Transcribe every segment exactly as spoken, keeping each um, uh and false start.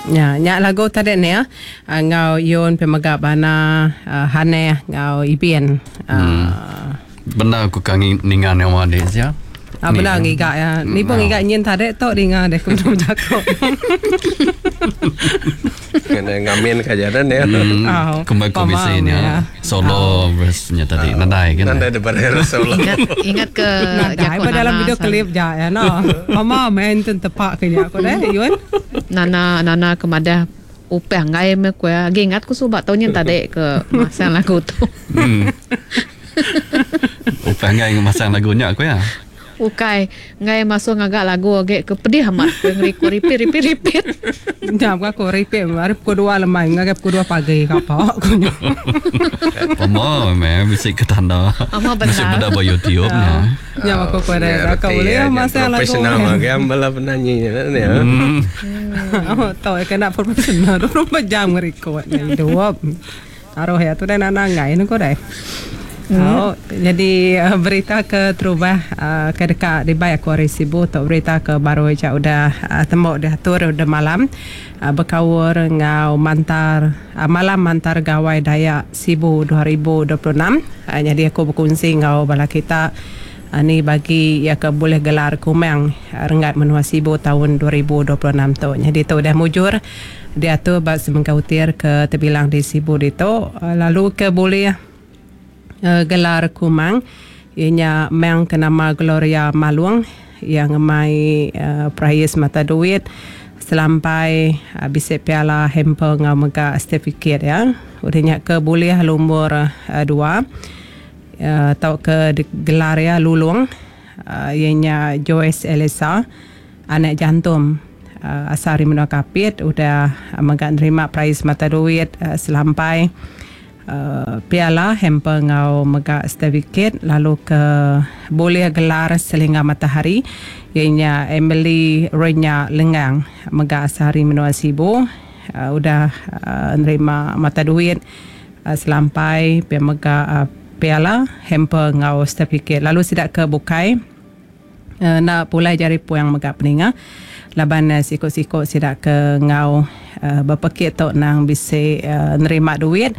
Ya, nya lagu tadi ni ya. Ngau Yun pemega bana uh, Haneh ngau Ibin. Hmm. Uh, Benar aku kangi ninga nyawa dia ya. Ah, benar ngiga ya. Ni pun ngiga nyin tadi tok dinga deh ku belum jago. Kena ngamin kajaran ya. Hmm, kembali ke bisi ni ya. Solo verse-nya tadi. Nadai kan. Nadai daripada solo. Ingat, ingat ke Nadai pada dalam video klip ja ya no. Mama main ten tepak ke nya aku deh Yun. Nana Nana kemadah upah ngai me ku agi ingat ku suba tau nyin tadi ke masang lagu tu. Hmm. Upah ngai masang lagunya aku ya. Ukai ngai masuk ngagak lagu age ke pedih amat ke ngeriku repeat repeat repeat. Jam aku repeat hari pukul dua lemai ngagai pukul dua pagi ka apa aku nya. Omo me bisi ke tanda. Bisi beda ba YouTube nya. Nya aku pada aku boleh masang lagu. Profesional magam bala penyanyi nya ni. Oh tau kena profesional dua puluh empat jam ngerekod ni hidup. Aroh ya tu dah nana ngai nu ko dai. Hmm. Oh, jadi uh, berita ke terubah uh, ke dekat di baik aku hari Sibu atau berita ke baru aja udah uh, tembok dah atur udah malam uh, berkawur ngau mantar uh, malam mantar gawai Dayak Sibu dua ribu dua puluh enam. Uh, jadi aku berkongsi ngau bala kita uh, ni bagi ya ke boleh gelar kumang uh, renggat menua Sibu tahun dua ribu dua puluh enam tu. Jadi tu dah mujur diatur bak semengkautir ke terbilang di Sibu itu uh, lalu ke boleh Uh, gelar kumang ianya mang ke nama Gloria Malung yang ngemai uh, prais mata duit selampai uh, bisik piala hamper ngau mega sertifikat ya. Udahnya ke boleh lumur uh, dua uh, atau ke gelar ya lulung uh, ianya Joyce Elisa anak jantum uh, asal Menua Kapit udah uh, mega nerima prais mata duit uh, selampai Uh, piala hamper ngau mega sertifikat lalu ke boleh gelar selingga matahari ianya Emily Renya Lengang mega sehari Menua Sibu uh, udah uh, nerima mata duit uh, selampai pia mega uh, piala hamper ngau sertifikat lalu sidak ke bukai uh, nak pulai jari puang mega peninga laban uh, sikok-sikok sidak ke ngau uh, berpekit tok nang bisa uh, nerima duit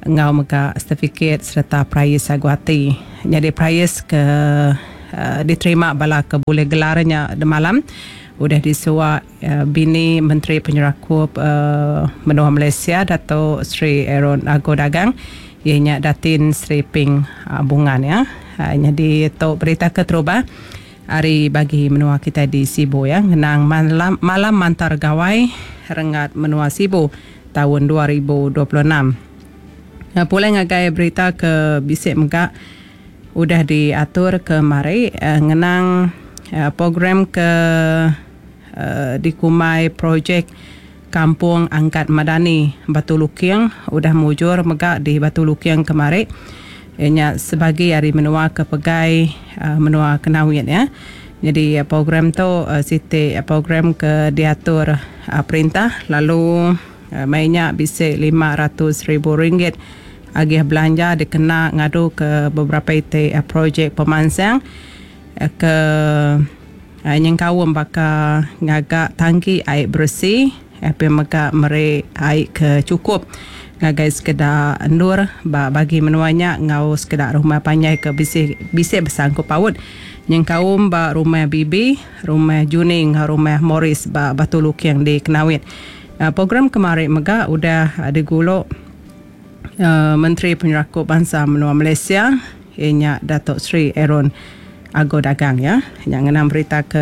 ngau mega sertifikat serta prais aguati. Jadi prais ke uh, diterima bala ke boleh gelarnya de malam udah disuak uh, bini Menteri Penyerakup uh, Menua Malaysia Dato' Sri Aaron Ago Dagang ianya Datin Sri Ping uh, Bungan ya. Uh, jadi tu berita keterubah hari bagi menua kita di Sibu ya ngenang malam, malam mantar gawai renggat menua Sibu tahun dua ribu dua puluh enam. Uh, pulai ngagai berita ke bisik mega udah diatur ke mari uh, ngenang uh, program ke uh, dikumai projek Kampung Angkat Madani Batu Lukiang udah mujur mega di Batu Lukiang kemari ianya sebagai hari menua ke pegai uh, menua Kenawit ya. Jadi uh, program tu uh, siti uh, program ke diatur uh, perintah lalu uh, mainnya bisik lima ratus ribu ringgit agih belanja dikena ngadu ke beberapa iti uh, projek pemansang uh, ke uh, nyengkawum baka ngagak tangki air bersih uh, pemega mere air ke cukup ngagai sekedar endur ba bagi menuanya ngau sekedar rumah panjai ke bisik bisik bersangkut paut nyengkaum ba rumah Bibi, rumah Juning, rumah Morris ba Batu Lukiang di Kenawit. Uh, program kemarin mega udah uh, diguluk Uh, Menteri Penyerakup Bangsa Menua Malaysia ianya Datuk Sri Aaron Ago Dagang ya. Yang ngenang berita ke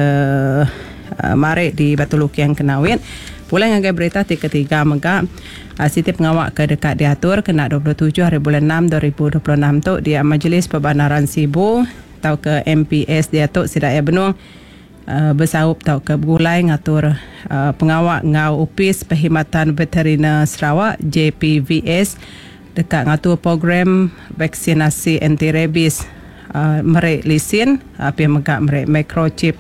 uh, marik di Batu Lukiang Kenawit. Pulai ngagai berita ti ketiga mega uh, siti pengawak ke dekat diatur kena dua puluh tujuh hari bulan enam dua ribu dua puluh enam tu di Majlis Perbandaran Sibu atau ke M P S diatur sidak ya benung uh, bersaup tau ke bergulai ngatur uh, pengawak ngau Upis Perkhidmatan Veteriner Sarawak J P V S dekat ngatur program vaksinasi anti rabies uh, merek lisin uh, pi mega merek microchip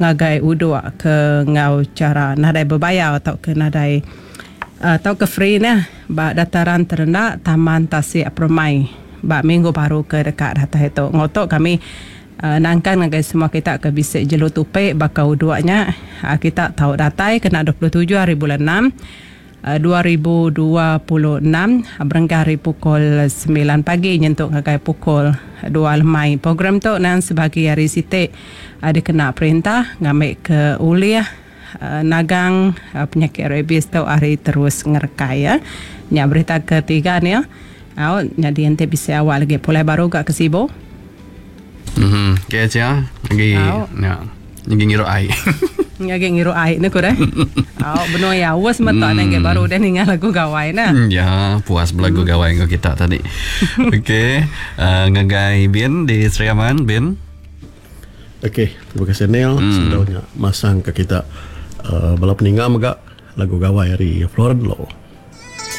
ngagai uduk ke ngau cara nadai berbayar atau ke nadai atau uh, ke free nah ba dataran terendak Taman Tasik Permai ba minggu baru ke dekat data itu ngotok kami Uh, nangkan ngagai semua kita ke bisik jelu tupek bakau duanya uh, kita tahu datai kena dua puluh tujuh hari bulan enam uh, dua ribu dua puluh enam berengkah hari pukul sembilan pagi nyentuk ngagai pukul dua lemai. Program tu nang sebagi hari siti uh, dikena perintah ngambil ke uliah uh, nagang uh, penyakit rabies tu hari terus ngerekai ya. Nya berita ketiga ni ya. Au jadi ente bisa awal lagi pulai baru gak ke Sibu. Mhm, okay aja. Lagi ya. Lagi ngiru ai. Lagi ngiru ai ne ku deh. Au benua ya was metak nang baru dah ningal lagu gawai nah. Ya, puas belagu gawai ngau kita tadi. Okey, uh, ngagai Bin di Sri Aman, Bin. Okey, terima kasih Neil hmm. Sendaunya masang ke kita uh, bala peninggal mega lagu gawai hari Floren Lo.